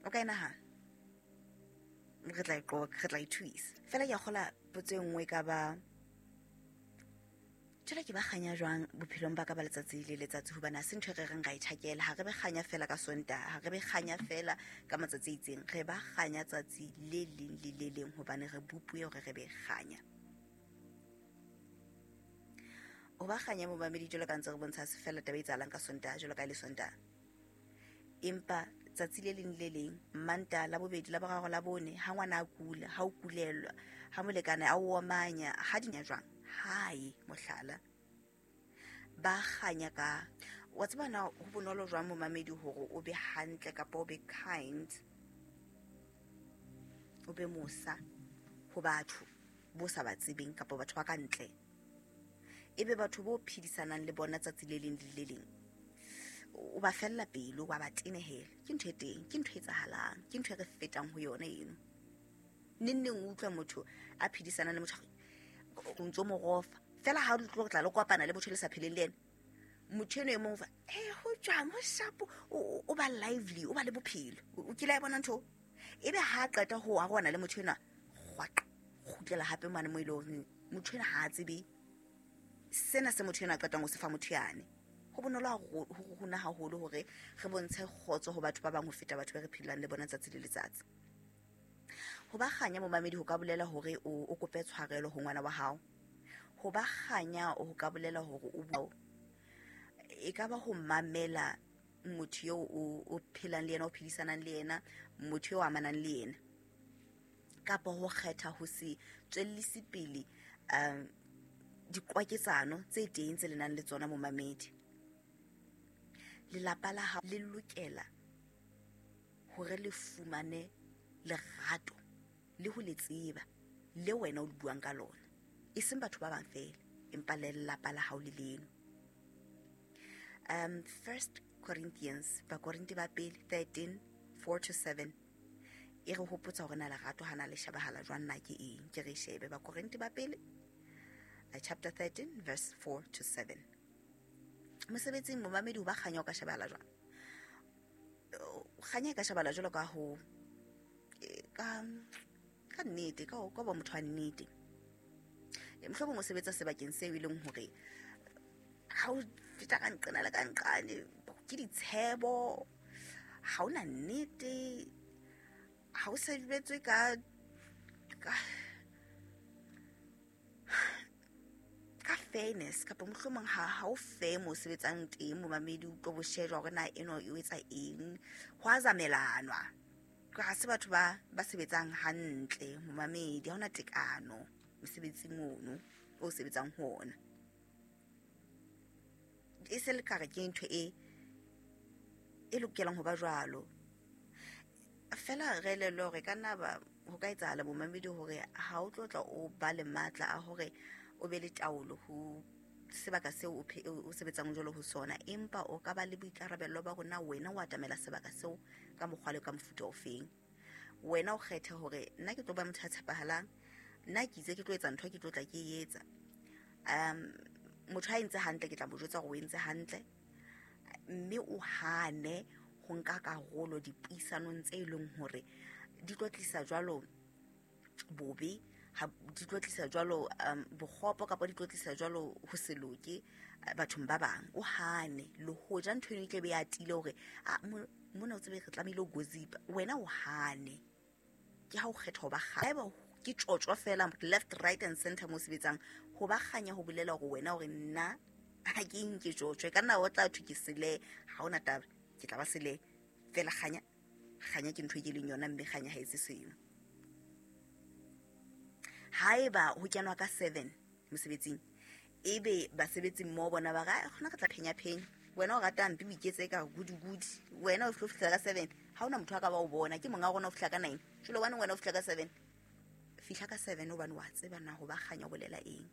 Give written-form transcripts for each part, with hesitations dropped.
O ka e nahana? Re tla e qoqa, re tla e thuisa. Fela ke a kgola potso e nngwe e ka ba jwale ke ba kganya jwang bophelong ba ka ba letsatsi le letsatsi, hobane ha se ntho e re reng ra e tjhakela. Ha re be kganya fela ka Sontaha, ha re be kganya fela ka matsatsi a itseng, re ba kganya tsatsi le leng le le leng, hobane re bopuwe hore re be kganya. Ho ba kganya momamedi, jwalo ka ntse re bontsha, se fela taba e etsahalang ka Sontaha jwalo ka e le Sontaha, empa tsatsi le leng le leng, Mmantaha, la bobedi, la boraro, la bone, ha ngwana a kula, ha o kulelwa, ha molekane a o omanya, ha dinya jwang hae, mohlala, ba kganya ka wa tseba na ho bonolo jwang momamedi hore o be hantle kapa o be kind, o be mosa ho batho bo sa ba tsebeng kapa batho ba ka ntle, ebe batho bo phedisanang le bona tsatsi le leng le le leng o ba fella pelo, wa ba tenehela. Ke ntho e teng, ke ntho e etsahalang, ke ntho e re fetang ho yona eno. Neng neng o utlwa motho a phedisana le motho o ntso mo rofa fela, ha o tlo tla le kopana le motho le sa pheleng le ena, motho eno e mong fa e ho jwang, ho shapo, o ba lively, o ba le bophelo. O kile a bona ntho ebe ha a qeta ho arohana le motho enwa, kgwaqa, kgutlela hape mane mo e leng hore motho enwa ha a tsebe sena se motho enwa a qetang ho se fa motho yane. Ho bonolo ho rona haholo hore re bontshe kgotso ho batho ba bang ho feta batho ba re phelang le bona tsatsi le letsatsi. Ho ba kganya momamedi ho ka bolela hore o kope tshwarelo ho ngwana wa hao. Ho ba kganya ho ka bolela hore o bua, e ka ba ho mamela motho eo o phelang le yena, o phedisanang le yena, motho eo amanang le yena, kapa ho kgetha ho se tswellise pele diqwaketsano tse teng tse le nang le tsona momamedi. Lelapa la hao le lokela hore le fumane lerato le ho le tseba le wena o le buang ka lona, e seng batho ba bang fela, empa le lelapa la hao le leno. 1 Corinthians, Bakorinthe ba pele 13 4 to 7 e re hopotsa hore na lerato hana le shebahala jwang, na ke eng. Ke re shebe Bakorinthe ba pele chapter 13 verse 4 to 7. Mosebetsing momamedi, ho ba kganya o ka shebahala jwang? Kganya e ka shebahala jwalo ka ho ka nnete, ka ka ba motho wa nnete. Mohlomong o sebetsa sebakeng seo e leng hore ha o feta ka nqena le ka nqane ke ditshebo, ha ona nnete, ha o sebetswe ka fairness, kapa mohlomong ha o fair mo sebetsang teng momamedi, o tlo bo shejwa hore na eno e etsa eng, ho a zamelanwa, ha se batho ba sebetsang hantle momamedi, ha hona tekano mosebetsing ono o sebetsang ho ona. E se le kare ke ntho e lokelang ho ba jwalo fela. Re elellwe hore ka nna ba ho ka etsahala momamedi hore ha o tlo tla o ba le matla a hore o be le taolo ho sebaka seo o sebetsang jwalo ho sona, empa o ka ba le boikarabello ba rona wena o atamela sebaka seo ka mokgwa le ka mofuta ofeng. Wena o kgethe hore nna ke tlo ba motho a tshepahalang, nna ke itse ke tlo etsa ntho, ke tlo tla ke e etsa. Motho ha entse hantle ke tla mo jwetsa hore o entse hantle, mme o hane ho nka karolo dipuisanong tse e leng hore di tlo tlisa jwalo bobe, ha di tlo tlisa jwalo bokgopo, kapa di tlo tlisa jwalo ho se loke bathong ba bang. O hane le hoja ntho eno e tla be e atile hore mona o tsebe re tlamehile ho gossipa, wena o hane. Ke ha o kgetha ho ba kganya, ke tjotjo fela left, right and center mo sebetsang. Ho ba kganya ho bolela hore wena hore nna ha ke nke tjotjo, e ka nna o tla thwe ke sele, ha hona taba, ke tla ba sele fela. Kganya, kganya ke ntho e ke leng yona, mme kganya ha etse seno. Haeba ho kenwa ka 7 mosebetsing, ebe basebetsi mmoho bona ba re kgona re tla phenya phenya, wena o rata mpe o iketse ka gudi gudi, wena o tlo fihla ka 7, ha hona motho a ka ba o bona, ke monga rona o fihla ka 9, jwale hobane wena o fihla ka 7, fihla ka 7 hobane wa tseba na ho ba kganya o bolela eng.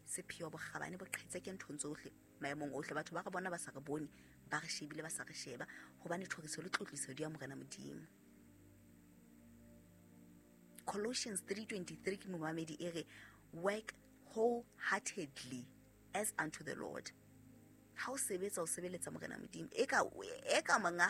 Sepheo bokgabane bo qhetse ke nthong tsohle, maemong ohle, batho ba re bona ba sa re bone, ba re shebile ba sa re sheba, hobane thoriso le tlotliso di ya Morena Modimo. Colossians 3:23 ke momamedi e re work wholeheartedly as unto the Lord. Ha o sebetsa o sebeletsa Morena Modimo, e ka monga